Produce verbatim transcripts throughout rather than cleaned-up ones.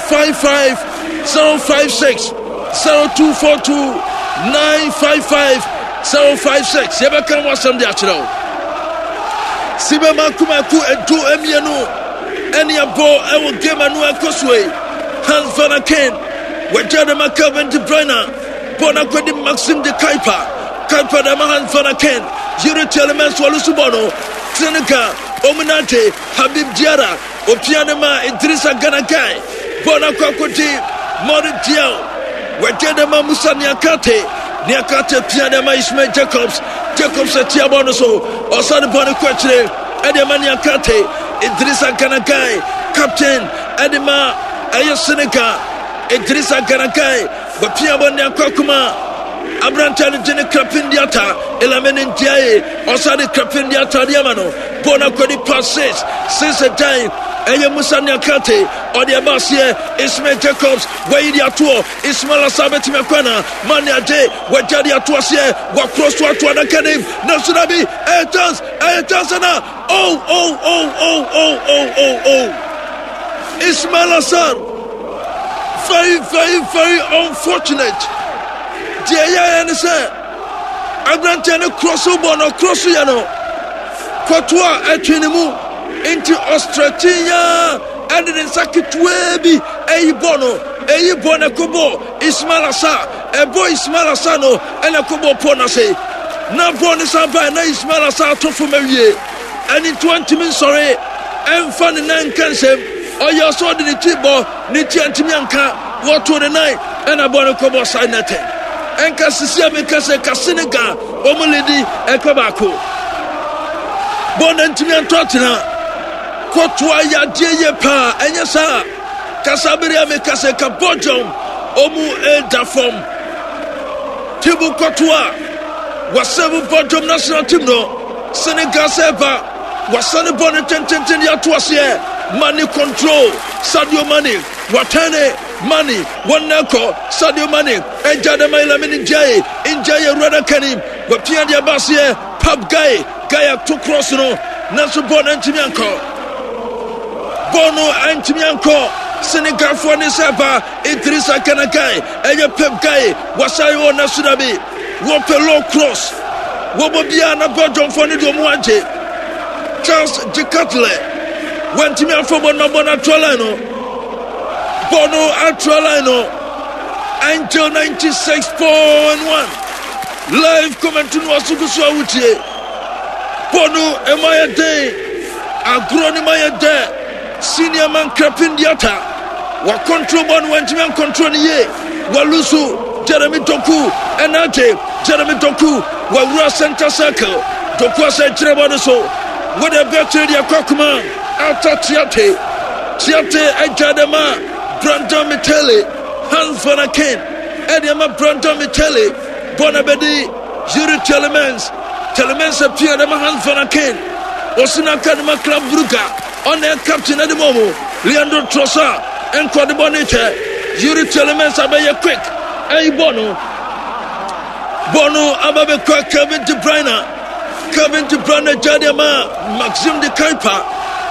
five five zero five six zero two four two nine five five zero five six. Yɛbɛka ho asɛm de akyerɛ wo. Sibɛma kumaku edu mmienu ɛne ɛbɔ ɛwɔ game ano ɛkɔ so yi. Hans Vanaken wɔagya de ma Kevin De Bruyne, bɔ no akɔdi Maxim De Cuyper, Cuyper de ma Hans Vanaken, Youri Tielemans wɔlo so bɔ no. Senegal ɔmu nante. Habib Diarra opia ne ma Idrissa Gana Gueye, bɔ no akɔ akɔdi Mori Diaw, wɔagya de ma Musa Niakate, Niakate pia de ma Ismail Jacobs, Jacobs atia bɔ no so, ɔsane bɔ no kɔ akyire ɛde ma Niakate. Idrissa Gana Gueye, captain ɛde ma ɛyɛ Senegal, Idrissa Gana Gueye wɔpia bɔ ne akɔ akoma aberanteɛ no gye ne Krepin Diata, Elamine Ndiaye ɔsane Krepin Diata de ama no, bɔ no akɔdi pass six six ɛdan ɛyɛ Musa Niakate, ɔde ɛba aseɛ Ismail Jacobs wɔyi de atoɔ. Ismail Asa bɛtumi akɔ na mane agye, wɔagya de ato aseɛ, wɔakorɔ so ato adaka nim, nanso da bi ɛyɛ chance, ɛyɛ chance na oh oh oh oh oh oh oh oh Ismail Assar, very very very unfortunate. Deɛ ɛyɛyɛ ne sɛ aberanteɛ no korɔ so bɔ no korɔ so yɛ no kɔto a ɛtwe ne mu nti ɔstretch yaa ɛde ne nsa ketewaa bi ɛyi bɔ no, ɛyi bɔ no ɛkɔbɔ Ismail Assar, ɛbɔ Ismail Assar no ɛna ɛkɔbɔ pɔ no ase na bɔ ne san baa na Ismail Assar ato fam awie. Ɛne nti wantumi nsɔre ɛmfa ne nan nka nsɛm, ɔyɛ ɔsɛ ɔde ne ti bɔ ne ti antumi anka, wɔto ne nan ɛna bɔ no kɔbɔ side netting. Ɛnka sisi a meka sɛ ka Senegal wɔn lead ɛkɔ baako, bɔ no ntumi antɔ atena kɔtoa yadeɛ yie paa. Ɛnyɛ saa kasa bere a meka sɛ ka Belgium ɔmu ɛda fam. Thibaut Courtois wasɛm Belgium national team no. Senegal sɛ ba wasane bɔ no tententen de ato aseɛ. Mane control, Sadio Mane watɛne Mane wɔn kɔ, Sadio Mane ɛgya de ma Lamine Ndiaye, Ndiaye awurada kanim wapia de aba aseɛ Pape Gueye, Gueye ato cross no nanso bɔɔl no antumi ankɔ, bɔɔl no antumi ankɔ. Senegalfoɔ ne sɛ ba Idrissa Gana Gueye, ɛyɛ Pape Gueye wasan wɔ naso bi wɔpɛ low cross wɔbɔ biara na Belgiumfoɔ no de ɔmo agye. Charles De Ketelaere wantumi afɔ bɔ no, bɔ no atoa line no, bɔ no atoa line no. Angel ninety-six point one live comment no waso so a wotie bɔ no ɛma yɛ den, agorɔ no ma yɛ dɛ. Senior man Krepin Diata wa control bɔ no, wantumi ancontrol no yie, walusu. Jeremy Doku ɛna agye, Jeremy Doku wawura center circle, Doku asɛ kyerɛ bɔ no so, wɔde bɛkyerɛ deɛ akɔ akoma Ata Tiate, Tiate agya de ma Brandon Mechele, Hans Vanaken ɛde ama Brandon Mechele, bɔ na bɛdi Youri Tielemans, Tielemans apia de ma Hans Vanaken, ɔsena de ma Club Brugge, ɔna captain ɛde ma ɔmo. Leandro Trossard ɛnkɔ de bɔ ne kyɛ Youri Tielemans, abɛyɛ quick ɛyi bɔ no, bɔ no aba bɛkɔ Kevin De Bruyne, Kevin De Bruyne gya de ma Maxim De Cuyper,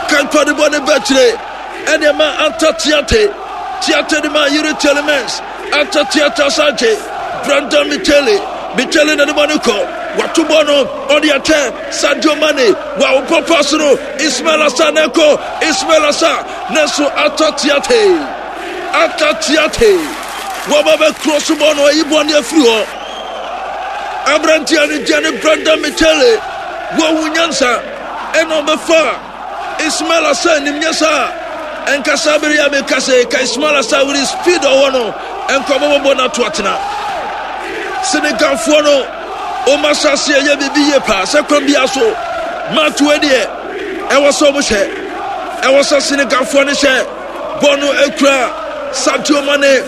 Cuyper de bɔ ne bɛkyerɛ ɛde ma Anta Tiate, Tiate de ma Youri Tielemans, Anta Tiate asagye Brandon Mechele, Mechele na de bɔ ne kɔ, wato bɔ no ɔde akyɛ Sadio Mane, wa wopɔ pass no Ismail Assar na ɛkɔ Ismail Assar nanso Ata Tiate, Ata Tiate wɔba bɛkorɔ so bɔ no, ayi bɔ ne afiri hɔ. Aberanteɛ no gya ne Brandon Mechele, wɔwu nyansa ɛna ɔbɛfa Ismail Assar nim nyɛ saa ɛnkasa bere a meka sɛ ka Ismail Assar with his speed ɔwɔ no ɛnkɔ bɔbɔbɔ no ato atena. Senegalfoɔ no ɔma asase ɛyɛ biribi yie paa sɛ kwan bia so maatoa deɛ ɛwɔ sɛ ɔmo hyɛ, ɛwɔ sɛ Senegalfoɔ no hyɛ bɔ no akura Sadio Mane,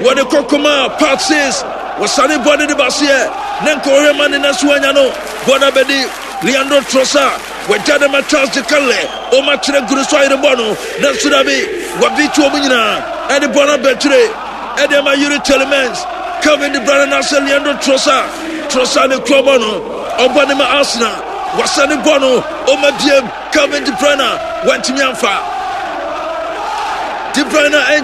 wɔde kɔkɔma part six, wɔsane bɔ ne de baseɛ ne nka ɔhwɛ Mane nanso wanya no, bɔ no abɛdi Leandro Trossard, wɔagya de ma Charles De Ketelaere, ɔma kyerɛ guru so ayere bɔ no nanso dabi, wɔbi to ɔmo nyinaa ɛde bɔ no abɛkyerɛ ɛde ama Youri Tielemans, Kevin De Bruyne n'asɛ Leandro Trossard, Trossard ne kura bɔ no, ɔbɔ ne ma Arsenal, wɔsane bɔ no ɔma biem Kevin De Bruyne, wantumi amfa De Bruyne.